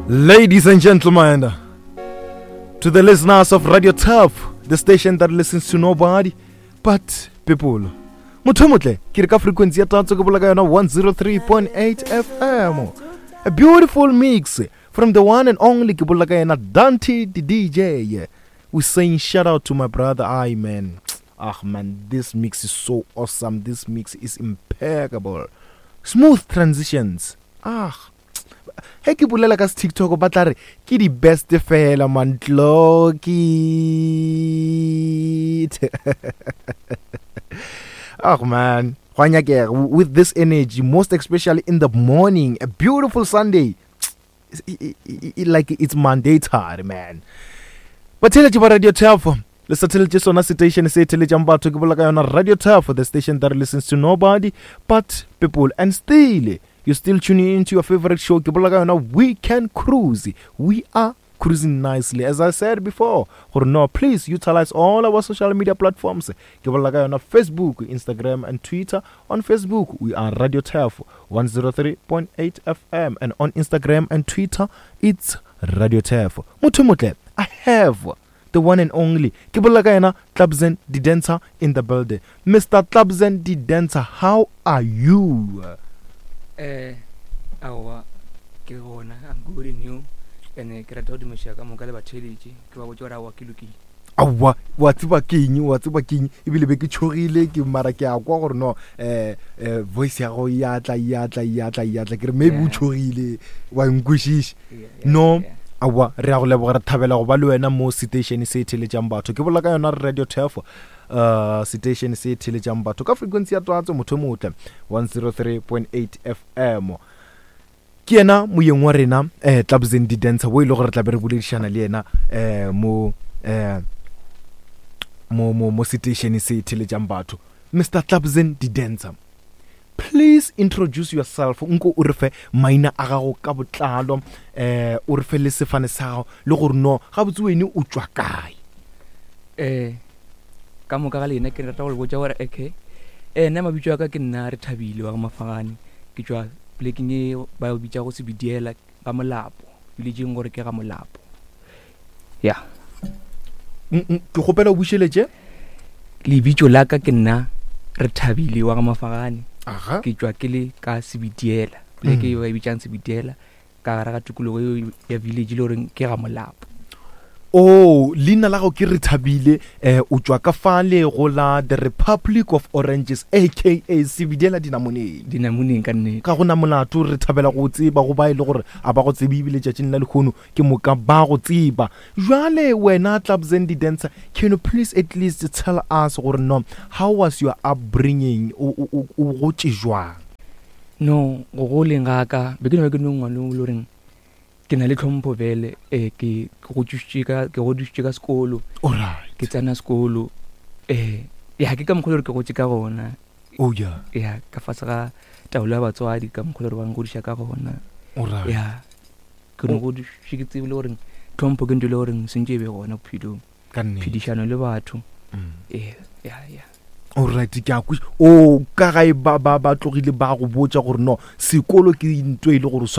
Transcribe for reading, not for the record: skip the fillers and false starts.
Ladies and gentlemen, to the listeners of Radio Turf, the station that listens to nobody but people. Motho motle, ke re ka frequency ya tatso ke bola ka yona 103.8 FM. A beautiful mix from the one and only ke bola ka yena Dante the DJ. We saying shout out to my brother I man. Ah man, this mix is so awesome. This mix is impeccable. Smooth transitions. Ah He ke bolela ka TikTok ba tla re ke di best fela man tloki. Oh man, gwa nyakega with this energy, most especially in the morning, a beautiful Sunday. Like it's mandatory man. Batheletši ba Radio Turf, le sa theletše sona station se theletšang batho ke bolela ka yona Radio Turf, the station that listens to nobody but people and still You're still tuning into your favorite show, ke bolela ka yona Weekend Cruise. We are cruising nicely. As I said before, gore no, please utilize all our social media platforms. Ke bolela ka yona Facebook, Instagram and Twitter. On Facebook, we are Radio Turf 103.8 FM and on Instagram and Twitter, it's Radio Turf. Motho motle, I have the one and only ke bolela ka yena Tlabzen the dancer in the building. Mr. Tlabzen the dancer, how are you? Eh, aowa ke gona, I'm good and you. And ke rata go dumeša ka moka le batheeletši, ke ba botše gore aowa ke lokile. Aowa, wa tseba ke eng, wa tseba ke eng, ebile be ke tšhogile ke mara ke a kwa gore no eh, eh, voice ya gago ya tla ya tla ya tla ya tla ke re maybe o tšhogile wa nkwešiša. No, aowa, re a go leboga, re thabela go ba le wena mo seteišene se theletšang batho. Ke bolela ka yona Radio Turf, uh, seteišene se theletšang batho ka frequency ya twatso motho motle 103.8 FM. Ke yena moyeng wa rena eh, Tlabzen di Dancer wo e le gore re tla be re boledišana le yena eh, mo eh, mo mo mo seteišene se theletšang batho. Mr. Tlabzen di Dancer. Please introduce yourself, nko o re fe maina a gago ka botlalo, eh o re fe le sefane sa gago le gore no gabotse wene o tšwa kae. Eh ka moka ga lena ke rata go le botša gore okay eh nna mabitso a ka ke nna re thabile wa mafagane ke tšwa plekeng e ba e bitša go Sebidiela ga Molapo villageng gore ke ga Molapo ya Ke kgopela o bušeletše. Lebitso la ka ke nna re thabile wa ga Mafagane. Ke tšwa ke le ka Sebidiela poleke eo ba e bitsang Sebidiela ka gare ga tikologo eo ya village le goreng ke ga Molapo. Oh, leina la gago ke Rethabile, eh, o tšwa ka fale go la The Republic of Oranges, aka Sebidiela Dinamoneng. Dinamoneng ka nnete. Ga go na molato, re thabela go tseba go ba e le gore a ba go tsebe ebile tšatšing la lehono ke moka ba go tseba. Jwale wena Tlabzen di Dancer, can you please at least tell us gore no, how was your upbringing, o, o, o, o gotše jwang? No, go goleng ga ka, be ke no ba ke no ngwana o le goreng ke na le tlhompho bele, eh, ke, ke godišitše ka, ke godišitše ka sekolo. Alright. Ke tsena sekolo, eh, ya ke ka mokgwa o le gore ke gotše ka gona. Oh yeah. Ya, ka fase ga taolo ya batswadi, ka mokgwa o le gore ba ngodiša ka gona. Alright. Ya. Ke no godišitše ke tsebile gore tlhompho ke ntho e le goreng sentše e be gona bophelong. Ka nnete. Phedišano le batho. Ee, ya, ya. Alright, ke a kwešiša. O ka gae ba, ba, ba tlogile ba go botša gore no, sekolo ke ntho e le gore o swanetše.